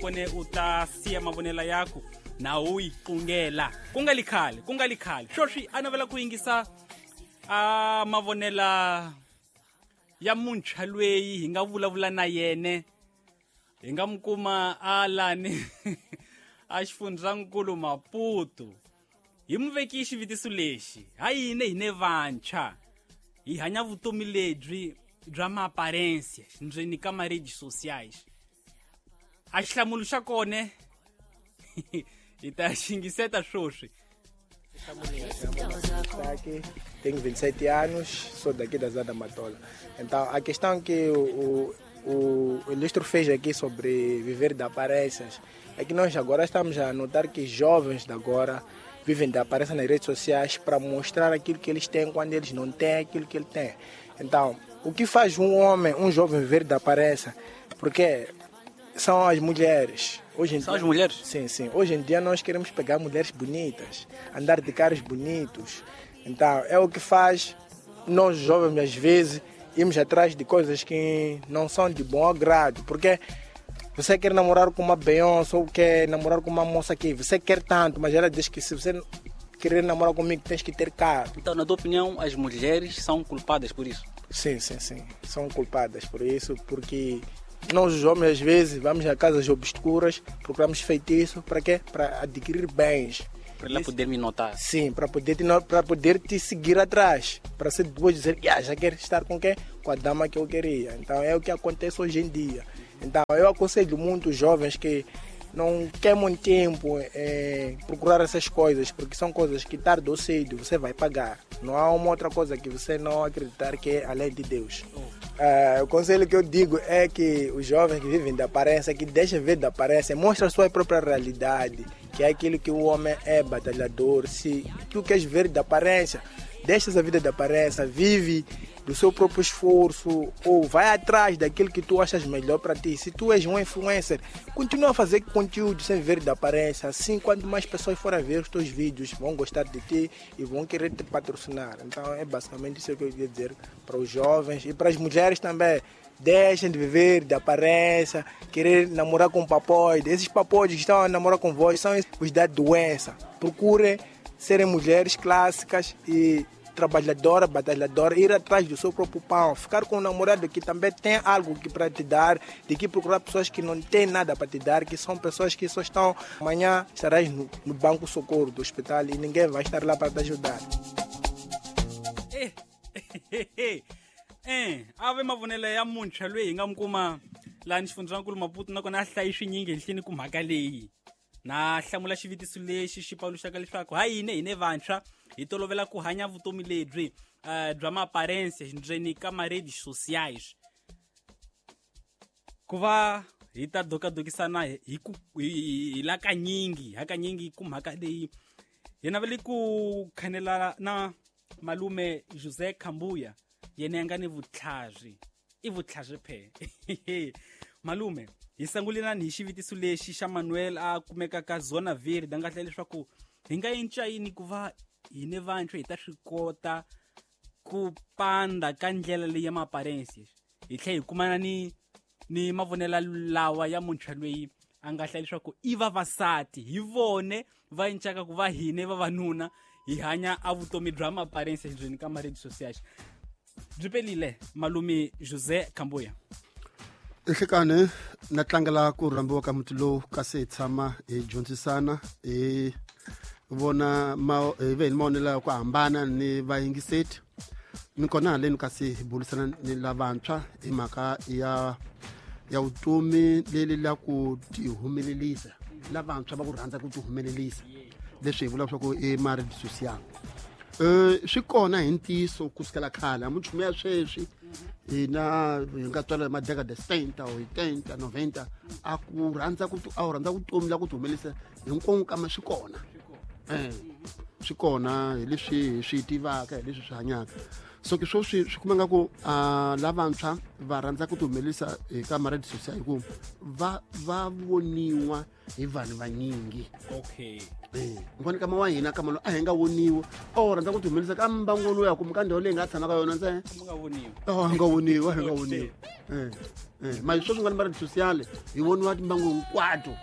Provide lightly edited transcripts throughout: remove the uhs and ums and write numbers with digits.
Kone u ta siya mavonelo yaku na u yi qungela ku nga li khale, ku nga li khale. Sweswi a navela ku yingisa a mavonela ya muntshwa lweyi hi nga vulavula na yene, hi nga mu kuma a lani a xifundzankulu Maputo. Hi mu veki xivutiso lexi: ha yini hine vantshwa hi hanya vutomi lebyi bya maaparensia ndzeni ka ma-redes sociais? A xihlamulo xa kone hi ta xingiseta sweswi. Aqui, tenho 27 anos, sou daqui da Zada Matola. Então, a questão que o Ilustro fez aqui sobre viver de aparências é que nós agora estamos a notar que jovens de agora vivem de aparência nas redes sociais para mostrar aquilo que eles têm quando eles não têm aquilo que ele tem. Então, o que faz um homem, um jovem viver de aparência? Porque são as mulheres. Hoje em São dia, as mulheres? Sim, sim. Hoje em dia nós queremos pegar mulheres bonitas, andar de carros bonitos. Então, é o que faz nós jovens, às vezes, irmos atrás de coisas que não são de bom agrado. Porque você quer namorar com uma Beyoncé ou quer namorar com uma moça que você quer tanto, mas ela diz que se você querer namorar comigo, tens que ter carro. Então, na tua opinião, as mulheres são culpadas por isso? Sim, sim, sim. São culpadas por isso, porque nós, os homens, às vezes, vamos a casas obscuras, procuramos feitiço, para quê? Para adquirir bens. Para ela poder me notar. Sim, para poder te seguir atrás, para ser depois dizer, ah, já quero estar com quem? Com a dama que eu queria. Então é o que acontece hoje em dia. Então eu aconselho muito os jovens que não queimam tempo em procurar essas coisas, porque são coisas que tarde ou cedo você vai pagar. Não há uma outra coisa que você não acreditar que é além de Deus. O conselho que eu digo é que os jovens que vivem da aparência, que deixem ver da aparência, mostra a sua própria realidade, que é aquilo que o homem é, batalhador. Se tu queres ver da aparência, deixa a vida da aparência, vive do seu próprio esforço ou vai atrás daquilo que tu achas melhor para ti. Se tu és um influencer, continua a fazer conteúdo sem ver da aparência. Assim, quanto mais pessoas forem ver os teus vídeos, vão gostar de ti e vão querer te patrocinar. Então, é basicamente isso que eu queria dizer para os jovens e para as mulheres também. Deixem de viver de aparência, querer namorar com papoide. Esses papoides que estão a namorar com vós são os da doença. Procurem serem mulheres clássicas e trabalhadora, batalhadora, ir atrás do seu próprio pão, ficar com um namorado que também tem algo que para te dar, de que procurar pessoas que não têm nada para te dar, que são pessoas que só estão... Amanhã estarás no banco socorro do hospital e ninguém vai estar lá para te ajudar. Ave mavonelo ya muntshwa loyi hi nga mu kuma laha ni xifundzankulu Maputo, nakona a hlayi swinyingi henhleni ku mhaka leyi. Na hlamula xivutiso lexi xi paluxaka leswaku ha yini hine vantshwa hi tolovela ku hanya vutomi lebyi bya maaparensia ndzeni ka ma-redes sociais. Ku va hi ta dokadokisana hi la kanyingi, hakanyingi ku mhaka leyi hi navele ku khanela na malume José Kambuya, yena a nga ni vutlhari, i vutlhari phe. Malume, hi sangulelani hi xivutiso lexi xa Manuel a kumeka ka Zona Verde, a nga hlela leswaku hi nga cinca yini ku va hine vantshwa hi ta swi kota ku panda ka ndlela leyi ya maaparensia, hi tlhela hi kumana ni mavonelo lawa ya muntshwa loyi a nga hlela leswaku i vavasati hi vone va cincaka ku va hine vavanuna hi hanya a vutomi bya maaparensia ndzeni ka ma-redes sociais. Byi pelile malume José Kambuya. Nhlekani na tlangela ku rhambiwa ka muti lowu kasi hi tshama hi dyondzisana, hi vona hi ve hi mavonelo ya ku hambana ni vayingiseti. Ni kona haleni kasi hi burisana ni lavantshwa hi mhaka ya vutomi leri la ku tihumelelisa, lavantshwa va ku rhandza ku tihumelelisa, leswi hi vulaka swa ku i ma-redes social. Swi kona hi ntiyiso kusukela khale, a minchumu ya sweswi hina hi nga tswala hi madekada 70 or 80, 90, a ku rhandza ku a wu rhandza vutomi la ku tihumelelisa hinkwako, kambe swi kona. Swi kona hi leswi hi swi tivaka, hi leswi swi hanyaka. So ke sweswi swi kuma nga ku lavantshwa va rhandza ku ti humelerisa eka maradi social hi ku va va voniwa hi vanhu vanyingi. Okay. Ngoni kama wa hina kama lo a hi nga voniwi, o rhandza ku ti humelerisa ka mbangu lowu ya kumbe ka ndhawu leyi nga tshama ka yona ntsena. Mu nga voniwi. Oh, hi nga voniwi, a hi nga voniwi. Manje sweswi nga ni maradi social hi voniwa timbangu hinkwato.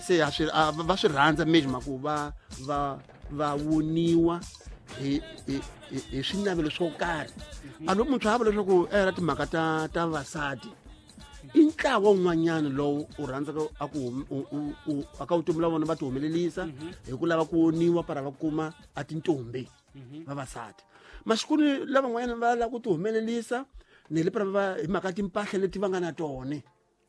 Se ha swi va swi rhandza mejima ku va voniwa hi hi hi swinavelo swo karhi. A loko muntshwa a vula leswaku era timhaka ta vasati i ntlawa wun'wanyana lowu u rhandzaka a ku aka vutomi la vona va ti humelerisa hi ku lava ku voniwa para va kuma a tintombi vavasati. Maxikuni lavan'wanyana va lava ku ti humelerisa ne le para va hi mhaka timpahla leti va nga na tona.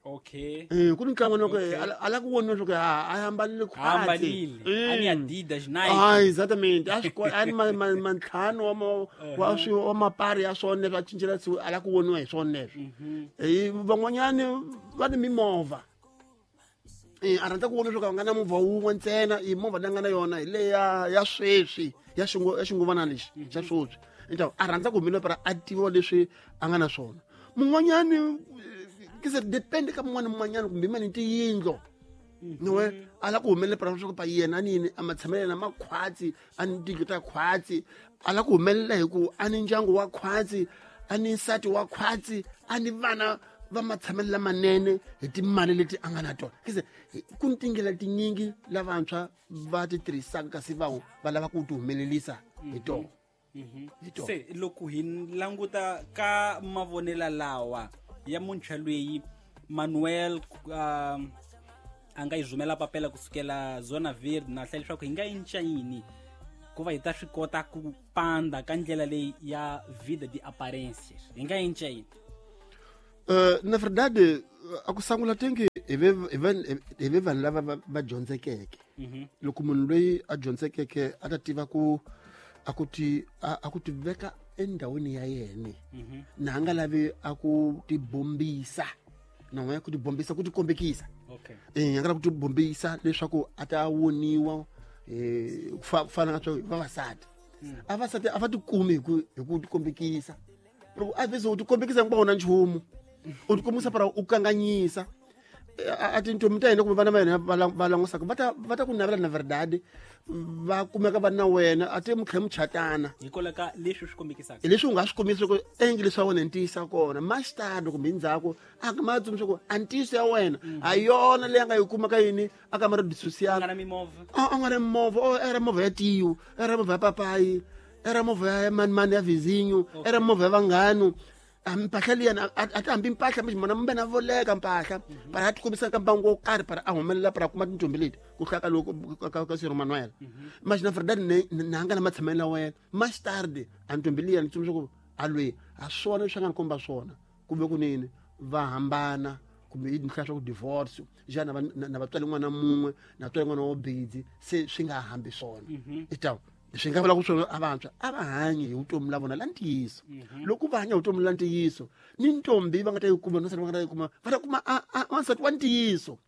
Okay. Ku ni ntlangu loko a la ku voniwa leswaku a ambalile khwatsi. Ambalile. A ni Adidas, Nike. Ah, exactamente. A swi a ni mantlhanu wa swi wa mapari ya swona leswi a cincela siku a la ku voniwa hi swona leswi. Van'wanyani va ni mimovha. A rhandza ku vona leswaku a nga na movha wun'we ntsena, i movha leyi a nga na yona hi leya ya sweswi ya ya xinguvana lexi xa sweswi. Então a rhandza ku humelela para a tiviwa leswi a nga na swona. Mun'wanyani ke se depende ka mun'wana mun'wanyana kumbe mani tiyindlo. Niwe a la ku humelela para leswaku pa yena ni yini a matshamelo na makhwatsi a ni tindlu ta khwatsi, a la ku humelela hi ku a ni ndyangu wa khwatsi, a ni nsati wa khwatsi, a ni vana va matshamelo lamanene hi timali leti a nga na tona. Ke se ku ni tindlela tinyingi lavantshwa va ti tirhisaka kasi va va lava ku ti humelerisa hi tona. Hi tona. Se loko hi languta ka mavonelo lawa ya muntshwa loyi Manuel a nga yi rhumela papela kusukela Zona Verde na hlaya leswaku hi nga cinca yini ku va hi ta swi kota ku panda ka ndlela leyi ya vida de aparências. Hi nga cinca yini? Na verdade a ku sangula tengi hi ve vanhu lava va dyondzekeke. Loko munhu loyi a dyondzekeke a ta tiva ku a ku ti a ku ti veka endhawini ya yena. Na nga lavi a ku ti bombisa. Na n'we ku ti bombisa ku ti kombekisa. Okay. A nga lavi ku ti bombisa leswaku a ta voniwa ku fana na swa vavasati. A vasati a va ti kumi hi ku ti kombekisa. Loko a vese u ti kombekisa hinkwawo na nchumu. U ti kombisa para u kanganyisa. A tintombi ta hina kumbe vana va hina va langusaka va ta ku navela na verdade, va kumeka va na wena a ti mi tlhela mi chatana. Hikwalaho ka leswi swi kombekisaka. Hi leswi u nga swi kombisi ku endli leswi wa wena ntiyisa kona. Mastado kumbe ndzhaku a nga ma tsundzuxa ku a ntiyiso ya wena a yona leyi a nga yi kuma ka yini a ka marito social. A nga na mimovha. A nga na mimovha, o era movha ya tiyo, era movha ya papayi, era movha ya mani mani ya vizinho, era movha ya vanghanu. Mpahla liya a ti hambi mpahla mixi mona mbe na voleka mpahla. Para a ti kombisa ka mbangu wo karhi para a humelela para a kuma tintombi leti ku hlaya ka loko ka Sir Manuel. Manje na verdade na nga na matshamelo ya wena. Mastard a ntombi liya ni tsundzuxa ku a lweyi a swona leswi a nga ni komba swona kumbe kunene va hambana kumbe yi hlaya swa ku divorce xana na vatswari n'wana mun'we na vatswari n'wana wo bidzi se swi nga hambi swona. Itawu swi nga vula ku swona a vantshwa a va hanyi hi vutomi la vona la ntiyiso. Loko va hanya hi vutomi la ntiyiso ni ntombi va nga ta yi kuma ni nsati va nga ta yi kuma va ta kuma a wansati wa ntiyiso.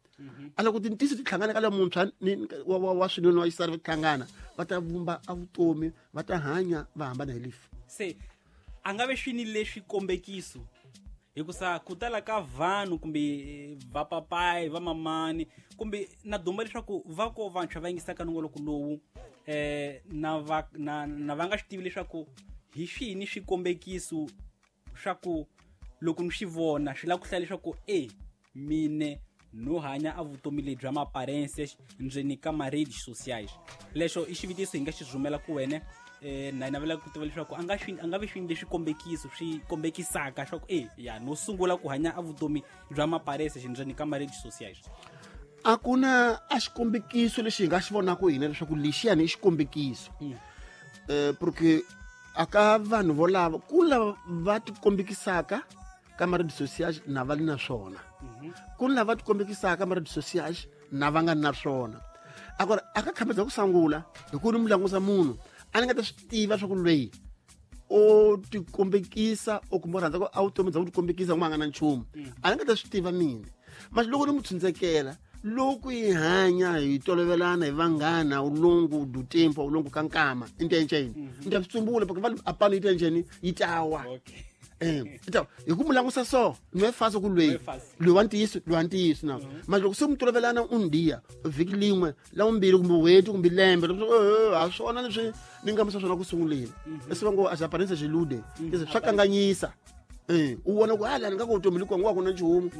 A loko tintiyiso ti hlangana ka la muntshwa ni wa swinene wa xisati va hlangana va ta vumba a vutomi va ta hanya va hambana hi lifu. Se a nga ve swini leswi kombekiso hikusa ku tala ka vanhu kumbe vapapayi va mamani kumbe na duma leswaku va ko vantshwa va yingisaka nongoloko lowu na va na va nga swi tivi leswaku hi swini swikombekiso swa ku loko ni swi vona swi lava ku hlaya leswaku mine no hanya a vutomi lebyi bya maparense ndzeni ka ma-redes sociais. Lexo i xivutiso hi nga xi rhumela ku wena na navela ku tiva leswaku a nga swi a nga vi swini leswi kombekiso swi kombekisaka swa ku ya no sungula ku hanya a vutomi bya maparense ndzeni ka ma-redes sociais. A ku na a xikombekiso lexi hi nga xi vonaka hina leswaku lexiyani i xikombekiso. Porque aka vanhu volava ku lava va tikombekisaka ka ma-redes sociais na va li na swona. Ku lava va tikombekisaka ka ma-redes sociais na va nga na swona. Akora aka khamedza ku sangula hi ku ni mu langusa munhu a ni nga ta swi tiva swa ku loyi o tikombekisa o kumbe u rhandza ku a vutomi bya ku tikombekisa ku nga na nchumu. A ni nga ta swi tiva mina. Manje loko ni mu tshundzekela Loko hi hanya hi tolovelana hi vanghana ao longo do tempo, ao longo ka nkama intenjeni ni ta swi tsumbula porque va apano yi tenjeni yi tawa. Ita hi ku mu langusa so no é fácil ku loyi loyi wa ntiyiso loyi wa ntiyiso na manje loko se mi tolovelana un dia vhiki lin'we la vumbirhi kumbe n'hweti kumbe lembe ha swona leswi ni nga misa swona ku sunguleni leswi va ngo as aparência ilude swa kanganyisa. U vona ku hala ni nga ku vutomi likuwa ngo a ku na nchumu.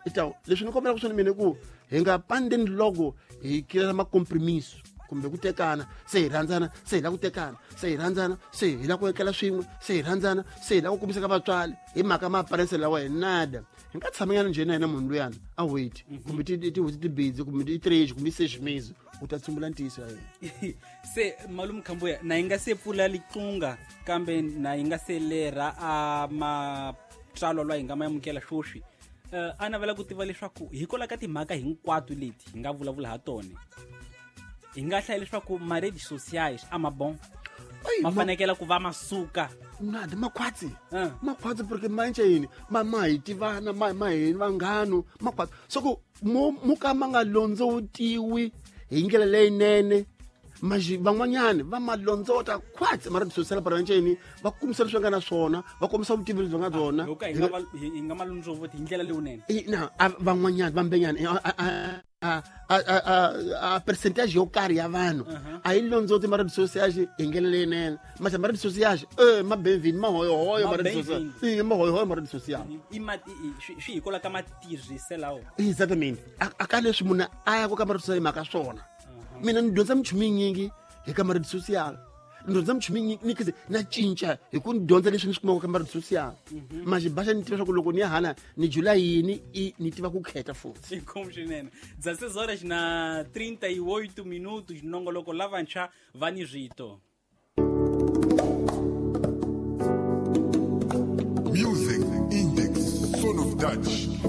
Ita leswi ni kombelaka swona mina ku hi nga pandeni loko hi kirela macompromiso kumbe ku tekana se hi rhandzana se hi lava ku tekana se hi rhandzana se hi lava ku etlela swin'we se hi rhandzana se hi lava ku kombisa ka vatswari hi mhaka ma-aparence lawa hi nada. Hi nga tshamanyana njhe na yena munhu luyana a wait kumbe tin'hweti tibidzi kumbe i três kumbe i seis meses u ta tsumbula ntiyiso ya yena. Se malume Khambuya na yi nga se pfula liqunga kambe na yi nga se lerha a matsalwa lwa hi nga ma amukela swoswi. A navela ku tiva leswaku hikwalaho ka timhaka hinkwato leti hi nga vulavula ha tona hi nga hlaya leswaku ma-redes sociais a ma bon ma fanekela ku va masuka nada makhwatsi. Makhwatsi porque ma yini ma hi tivana ma hi vanghano makhwatsi so ku mu ka ma nga londzotiwi hi ndlela leyinene maxi van'wanyani va ma londzota khwatsi ma redes social para nceni va kombisa leswi va nga na swona va kombisa vutivi lebyi va nga byona. Hi nga ma londzovoti hi ndlela leyinene. Na van'wanyani vambenyani a percentage yo karhi ya vanhu a yi londzoti ma redes social hi ndlela leyinene mase ma redes social ma benvini mahoyohoyo ma redes social mahoyohoyo ma redes social swi hikwalaho ka matirhiselawo. Exactamente a ka leswi munhu a ya ku ka ma redes social hi mhaka swona. Mina ni dyondza minchumu yinyingi hi ka ma redes social ni dyondza minchumu yinyingi ni kize na cinca hi ku ni dyondza leswi ni swi kumaka ka ma redes social manje baxa ni tiva swa ku loko ni ya hala ni jula yini i ni tiva ku khetha futhi. Inkomu swinene. 16 horas na 38 minutos nongoloko lavantshwa va ni rito. Music Index, Son of Dutch.